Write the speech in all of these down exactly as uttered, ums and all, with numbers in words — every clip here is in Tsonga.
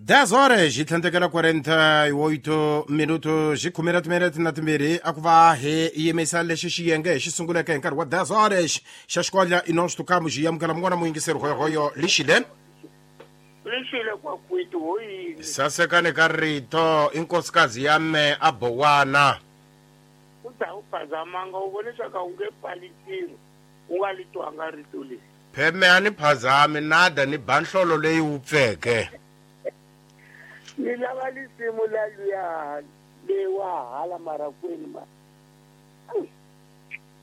dez horas hi tlhandlekela quarenta e oito minutos hi khume ra timinete na timbirhi a ku va hi yimisa lexi xiyenge hi xi sunguleke hi nkarhi wa dez horas xa xikodla i nós tocamos hi amukela mun'wana muyingiseri hoyohoyo lixile lixile kwakwiti hoyini sasekani ka rito i nkosikazi ya me a bowana u ta u phazamanga u vone swa ka u nge pfali ntirho u nga li twanga rito leri pheme a ni phazami nada ni ba nhlolo leyi wupfeke ni lava lisimu la luya lewa hala marakwini ma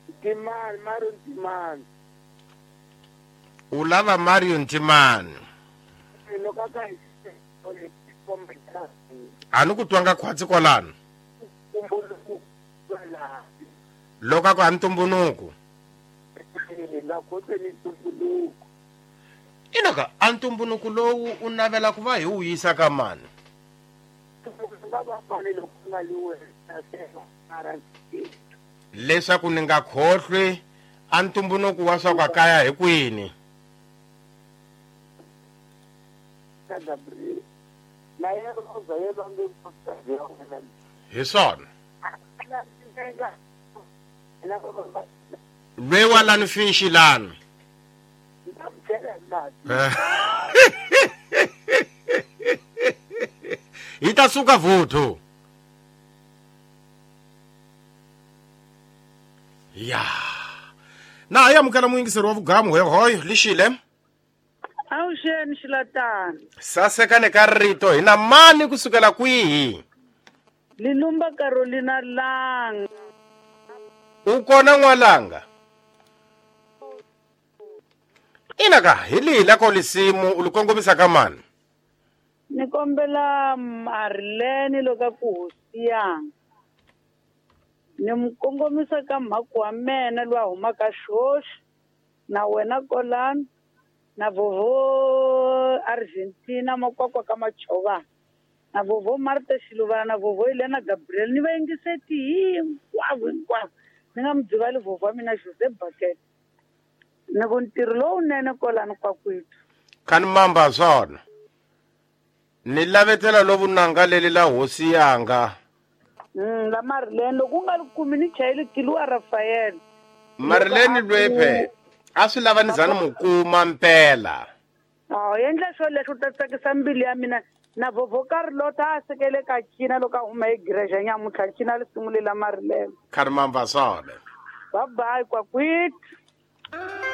Ntimani Mario Ntimani u lava Mario Ntimani loko ka a ni ku twanga khwatsi kwalano loko a ku a ntumbunuku inoka a ntumbunuku lowu u navela ku va hi wu yisa ka mani leswaku ni nga khohlwi a ntumbunuku wa swa kwa kaya hi kwini hi swona lwewa lani fishi lani hi ta suka vuthu ya na hi amukela muyingiseri wa vugamu hoyohoyo lixile awuxeni xilatana sasekane ka rito hi na mani kusukela kwihi Lilumba Carolina Langa u kona n'walanga ina ka hi lihi la ko lisimu u li kongomisa ka mani ni kombela Marilene loko ku hosiyanga ni mu kongomisa ka mhaku wa mena loyi a humaka xoxi na wena kolani na vovo Argentina makwakwa ka Machovana na vovo Marta Xiluvana na vovo Elena Gabriel ni vayingiseti hinkwavo hinkwavo ni nga mi dzivali vovo wa mina Jose Bucket ni ku ntirho lowunene kolani kwakwethu khani mamba swona ni lavetela lovunanga leli la hosi yanga mm la Marilene loko u nga li kumi ni chayeli Kiluwa Rafael Marilene lwephe a swi lava ni za ni mu kuma mpela a endla swo leswo u ta tsakisa mbilu ya mina na vovo Carlota a sekele ka cina loko a huma egireja nyamuntlha cina lisimu lela Marilene khani mamba swona bye bye kwakwethu.